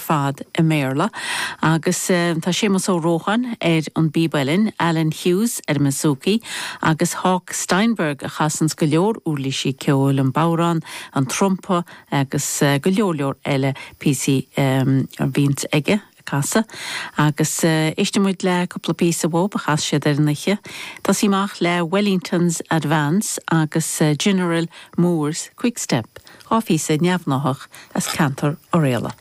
fad i mBéarla. Agus tá Séamus Ó Rócháin ar an bpíb uilleann, Alan Hughes ar an mbouzouki agus Hawk Steinberg a chasanns go leor uirlísí ceoil, an bodhrán, an trumpa agus go leor leor eile píosaí a bhíonns aige. casadh. Agus éistfidh muid le cúpla píosa uathu a chas siad ar an oíche. Tosaí amach le Wellington's Advance agus General Moore's Quickstep, 2 phíosa neamhghnáthach as ceantar Oirialla.